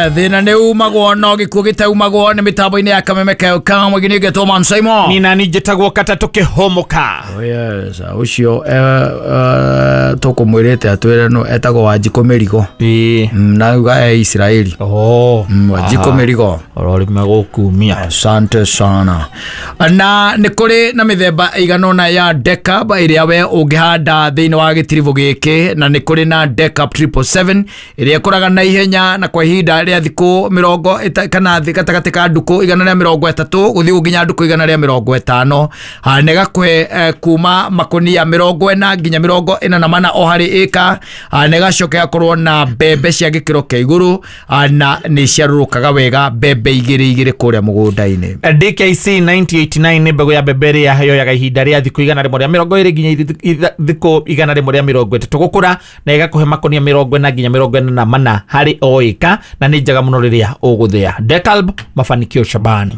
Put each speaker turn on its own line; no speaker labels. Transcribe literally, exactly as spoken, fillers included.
Thĩna nĩ umagwo no gĩkuũ gĩtaumagwo nĩ mĩtambo-inĩ ya Kameme Kamwe gĩnĩgetwo Man Simon.
Ni nani njĩtagwo Katatũ Kĩhũmũka.
Oh yes, ũcio tũkũmwĩrĩte atwĩre no etagwo Wanjikũ Mĩrigo.
Ĩĩ.
Mm, na uga e Israeli.
Oh.
Mm, Wanjikũ Mĩrigo.
Ororime gũkumia.
Asante sana. Na nĩ kũrĩ na mĩthemba ĩigana ũna ya Decab ĩrĩa we ũngĩhanda thĩinĩ wa gĩtiribũ gĩkĩ, na nĩ kũrĩ na Decab triple seven ĩrĩa ĩkũraga na ihenya na kwa ihinda rĩa thikũ mĩrongo ĩta- kana thĩ gatagatĩ ka ndukũ igana rĩa mĩrongo ĩtatũ gũthiĩ nginya ndukũ igana rĩa mĩrongo ĩtano. Ha, na ĩgakũhe eh, kuma makũnia mĩrongo ĩna nginya mĩrongo ĩna na mana o harĩ ĩka. Ha, na ĩgacoka ĩgakorwo na mbembe cia gĩkĩro kĩa igũrũ, ha, na nĩ ciarũrũkaga wega mbembe igĩrĩ igĩrĩ kũrĩa mũgũnda-inĩ.
D K C nineteen eighty-nine nĩ mbegũ ya mbembe ĩrĩa yoyaga ihinda rĩa thikũ igana rĩmwe rĩa mĩrongo ĩrĩ nginya ithe- thikũ igana rĩmwe rĩa mĩrongo ĩtatũ gũkũra, na ĩgakũhe makũnia mĩrongo ĩna nginya mĩrongo ĩna na mana harĩ o ĩka, na nĩ njega mũno rĩrĩa ũgũthĩa. Decalb, mafanikio Shabani.